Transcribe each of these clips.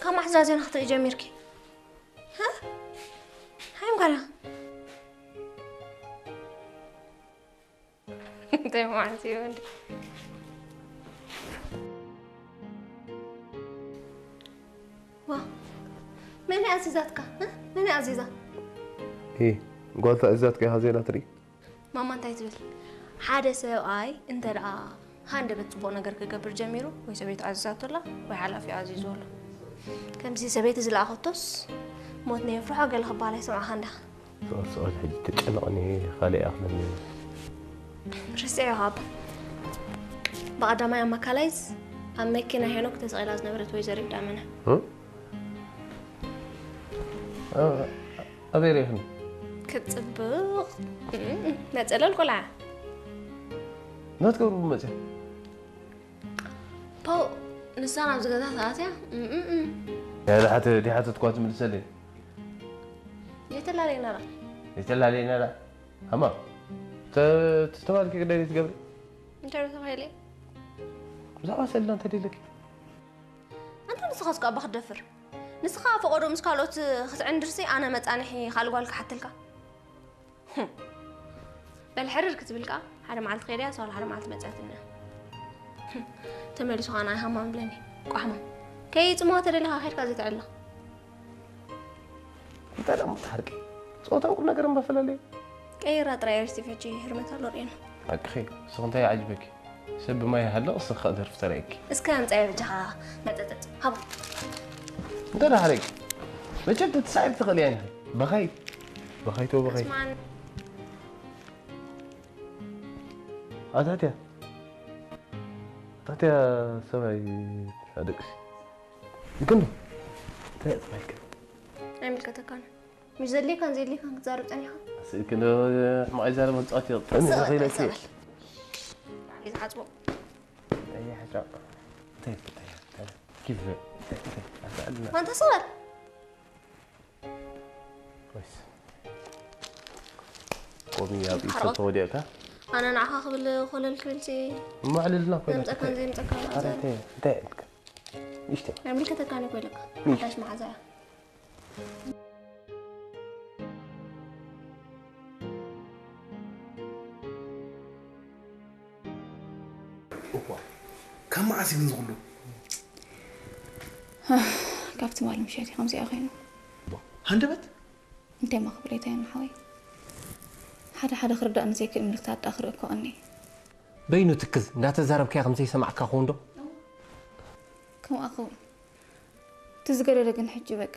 ካብ መዓስ እዛ ዜና ክትርኢ ጀሚርኪ? ሃ? ሃይ፣ እምጓላ። እንታይ ማለት እዩ እንዴ? ዋ፣ መን ኣዚዛትካ? እ? መን ኣዚዛ? እ፣ ጓል ተኣዚዛትካ ኢኻ ዜና ትርኢ? ማማ እንታይ ትብል? ሓደ ሰብኣይ እንተ ደኣ ሃንደበት ጽቡቕ ነገር ክገብር ጀሚሩ፣ ወይ ሰበይቱ ኣዚዛቶ ኣላ፣ ወይ ሓላፊ ኣዚዙ ኣሎ። ከምዚ ሰበይቲ ዝለኣኸቶስ፣ ሞት ነየፍርሖ ገለ ክበሃል ኣይሰማዕኻን ዲኻ? ስቕ ስቕ ኢለ ሕጂ ተጨነቕኒ፣ ካልእ እያ ክብለኒ። ርስዐዮ ኣባ። ብቐዳማይ ኣብ ማካላይዝ ኣብ መኪና ሄኖክ ተሰቒላ ዝነበረት ወይዘሪት ዳመና። እ? እ፣ ኣበይ ርኢኽኒ? ክትጽብቕ። እም፣ መጸለል ቆልዓ። ናትገብሩ መጽያ። ፖው፣ ንሳ ናብዚ ገዛ ተኣትያ? እም፣ እም፣ እም። ያለ ሓተ-፣ ዲሓተትኳ ትምልሰለይ። የተላለየና ዳ። የተላለየና ዳ። ኣማ፣ ተ-፣ ተስተባልኪ ግዳይ ትገብሪ? እንታይ ዶ ተባሂለ? ብዛዕባ ሰልና እንታይ ደለኪ? ኣንታ ንስኻስ እኮ ኣባ ክትደፍር። ንስኻ ፈቐዶ ምስ ካልኦት ክትዕንድርሲ ኣነ መጻንሒ ካልእ ጓል ክሓተልካ። ህም። በል ሕርር ክትብል ከኣ ሓደ መዓልቲ ከይዳ እያ፣ ሳላ ሓደ መዓልቲ መጽኣትኒ እያ። ህም። ተመሊሱ ከኣ ንዓይ ሃማም ብለኒ። ቋሕማም። ከይጽምዋ ተደሊኻ ከይድካ ዘይተዕልኽ። እንታይ ደኣ ምትሓርቂ? ጾታን ቁም ነገር እምባ ፈላለዩ። ቀይራ ጥራይ ሪስቲፍ ሕጂ ህርመት ኣሎ ርእየና። ሓቅኺ፣ ንስኺ እንታይ ይዓጅበኪ? ሰብ ብማይ ይሃልቕ፣ ንስኺ ከኣ ደርፊ ተርእየኪ። እስከ ኣምጻዮ በጃኻ መጠጠጥ። ሃቦ። እንታይ ደኣ ሓረቂ? መቸም ተትሳዒብ ትኽእሊ እያ ኢኺ። በኻይ። በኻይ ተው በኻይ። ስማን። ኣታትያ። ኣታትያ ሰብኣይ ኣደቅሲ። ይክንዶ። እንታይ እያ ተባሂልካ? ኣይምልከተካን። ምሽ ዘድልየካን ዘየድልየካን ክትዛረብ ጸኒኻ? ስእኪ ዶ ሕማቕ ይዛረብ መጻወቲ ይቕጥዕኒ ጸወታ ረኺበኪ። ይዛረብ። ይዝዓጽቦ። ኣየ ሕስራ። እንታይ እንታይ እንታይ ኪፍ እንታይ እንታይ ኣስዓድና። ኣንታ ሰበር። ወይስ ቆሚ ኣብ ኢድ ሓርቐ። ተወዲቕካ? ኣነ ንዓኻ ክብል ኮለል ክብል ሲ እሞ ኣዕልልና ኮይና ዘምጸካን እንታይ? ዘይምጸካን ኧረ ኣዛር። እንታይ እንታይ ኢልካ? ንእሽተይ። ኣይምልከተካን እዩ ኮይልካ። እሺ። ሓዳሽ መሓዛ እያ። እኳ፣ ካብ መዓስ እዩ ግን ዝኹሉ? ካብ ትማሊ ምሸት እዩ ከምዚኣ ኮይኑ። ሃንደበት? እንታይ እሞ ክብል እየ፣ እንታይ እሞ ሓወይ? ሓደ ሓደ ክርዳእኒ ዘይክእል ምልክታት ደኣ ክርኢ እኮ እኒ። በይኑ ትክዝ እንዳተዛረብካያ ከም ዘይሰማዕካ ክኸውን ዶ? ከምኣ ክኸውን። እቲ ዝገደደ ግን ሕጂ በቃ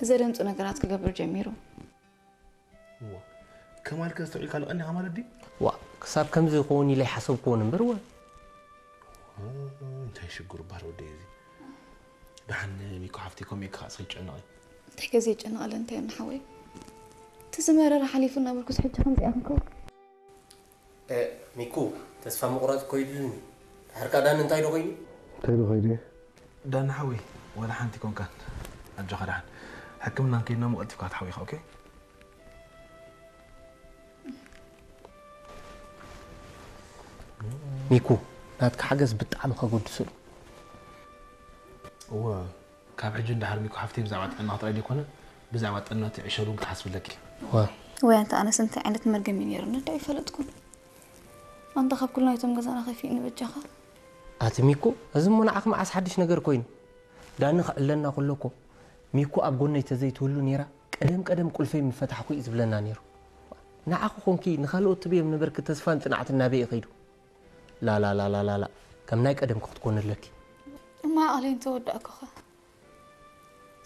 ዘደንጹ ነገራት ክገብር ጀሚሩ። እዋ፣ ከማልከ ኣስተውዒልካ ኣለቐኒ ኢኻ ማለት ድዩ? ዋ፣ ክሳብ ከምዚ ይኸውን ኢለ ኣይሓሰብክዎን እምበር፣ ወ። እ፣ እንታይ ሽግሩ እባ ወደይ እዚ። ደሓን ሚኮ ሓፍተይ ከምኡ ኢልካ እስኺ ጨነቒ። እንታይ ከ ዘይጨነቐለ እንታይ እኒ ሓወይ? እቲ ዝመረረ ሓሊፉ እናበልኩስ ሕጂ ከምዚኣ ክንከውን? እ፣ ሚኩ፣ ተስፋ ምቑራጽ እኮ ይድልኒ። ድሓር ከኣ ዳኒ እንታይ ዶ ኮይኑ? እንታይ ዶ ኮይኑ? ዳኒ ሓወይ፣ ዋላ ሓንቲ ኮንካን። ኣጆኻ ደሓን። ሕክምና እንከይድና እሞ ቀልጢፍካ ክትሓዊ ኢኻ፣ ኦኬ? ሚኩ፣ ናትካ ሓገዝ ብጣዕሚ ከገድሱ እዩ። እወ፣ ካብ ሕጂ ንደሓር ሚኩ ሓፍተይ ብዛዕባ ጥዕና ጥራይ ዘይኮነ፣ ብዛዕባ ጥዕና እቲ ዕሸል እውን ክትሓስቢ ኣለኪ። እወ። ወይ ኣንታ ኣነስ እንታይ ዓይነት መርገም እዩ ነይሩኒ፣ እንታይ ኣይፈለጥኩን። ኣንታ ካብ ኩሉ ናይቶም ገዛና ከፊእኒ በጃኻ። ኣቲ ሚኩ፣ እዚ እሞ ንዓኺ መዓስ ሓድሽ ነገር ኮይኑ? ዳኒ ክዕለና ከሎ እኮ፣ ሚኩ ኣብ ጎነይ ተዘይትህሉ ነይራ፣ ቀደም ቀደም ቁልፈይ ምፈታሕኩ እዩ ዝብለና ነይሩ። ንዓኺ ኮንኪ ንኻልኦት ትብዮም ነበርኪ ተስፋን ጽንዓትን ናበይ እዩ ከይዱ? ላላላላላላ፣ ከም ናይ ቀደም ክትኮኒ ኣለኪ። እሞ ዓቕለይ እንተወዳእኩኸ?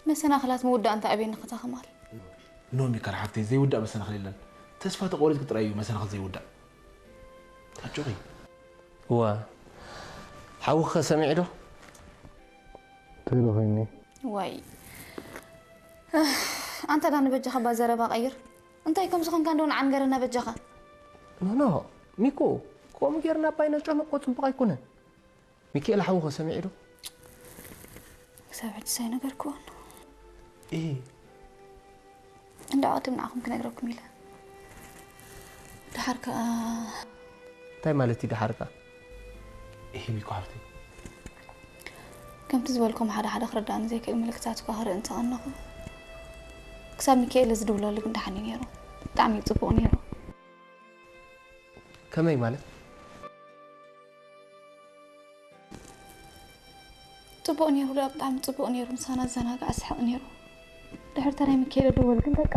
መሰናኽላት ምውዳእ እንታይ ኣበየኒ ከታ ከማል? ኖ ሚካል ሓፍተይ፣ ዘይውዳእ መሰናኽል የለን። ተስፋ ተቖሪጽኪ ጥራይ እዩ መሰናኽል ዘይውዳእ። ኣጆኺ። እዋ፣ ሓውኺ ከ ሰሚዑ ዶ? እንታይ ዶ ኮይኒ? ዋይ። ኣንታ ዳኒ በጃኻ እባ ዘረባ ቀይር። እንታይ ከም ዝኾንካ እንደው ንዓ ንገረና በጃኻ። ኖ፣ ኖ፣ ሚኮ፣ ከምኡ ጌርና ኣባይ ነጨንቆ ጽቡቕ ኣይኮነን። ሚኪኤል ሓውኺ ሰሚዑ ዶ? ክሳብ ሕጂ ሳይነገርክዎን። እ። እንዳ ቅድም ንዓኹም ክነግረኩም ኢለ። ደሓር ከኣ እንታይ ማለት እዩ ደሓር ከኣ? እሂ ሚኮ ሓፍተይ። ከምቲ ዝበልኩም ሓደ ሓደ ክርዳእኒ ዘይክእል ምልክታት እኳ ክርኢ እንተቐነኹ፣ ክሳብ ሚካኤል ዝድውለሉ ግን ደሓን እዩ ነይሩ። ብጣዕሚ እዩ ጽቡቕ ነይሩ። ከመይ ማለት? ጽቡቕ ነይሩ፣ ደኣ ብጣዕሚ ጽቡቕ ነይሩ። ምሳና ዘናግዕ፣ ስሕቕ ነይሩ። ድሕሪ ተናይ ሚካኤል ድወል ግን በቃ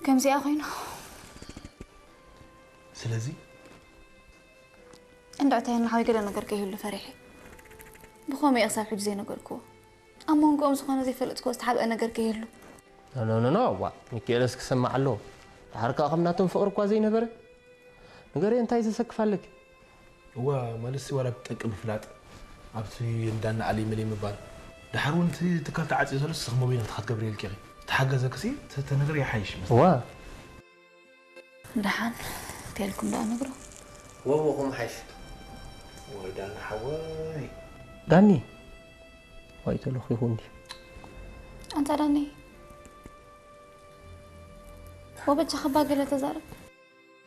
ከምዚኣ ኮይኑ። ስለዚ እንድዕተይ ንሓወይ ገለ ነገር ከይህሉ ፈሪሐ። ብኸመይ እየ ክሳብ ሕጂ ዘይነገርክዎ? ኣብ መንጎኦም ዝኾነ ዘይፈለጥክዎ ዝተሓብአ ነገር ከይህሉ። ኖ ኖ ኖ፣ ዋ ሚካኤልስ ክሰማዕ ኣለዎ። ድሓር ከኣ ከም ናቶም ፍቕሪ እኳ ዘይነበረ። ንገርዮ እንታይ ዘሰክፍ ኣለኪ? እዋ ማለትሲ ዋላ ብጠቂ ምፍላጥ ኣብቲ እንዳና ኣለይ መለይ ምባል ድሓር እውን እቲ ትካል ተዓፅዩ ዘሎ ስኽ መበይነትካ ክትገብር የልኪ ኢኺ። ተሓገዘክሲ ተነግር ይሓይሽ መስ ዋ ደሓን ተልኩም ደኣ ነግሮ። ወወኹም ሓይሽ ወይ ዳና ሓወይ ዳኒ ዋይ ተለኺኹ እንዲ ኣንታ ዳኒ ወበጃ ከባ ገለ ተዛረብ።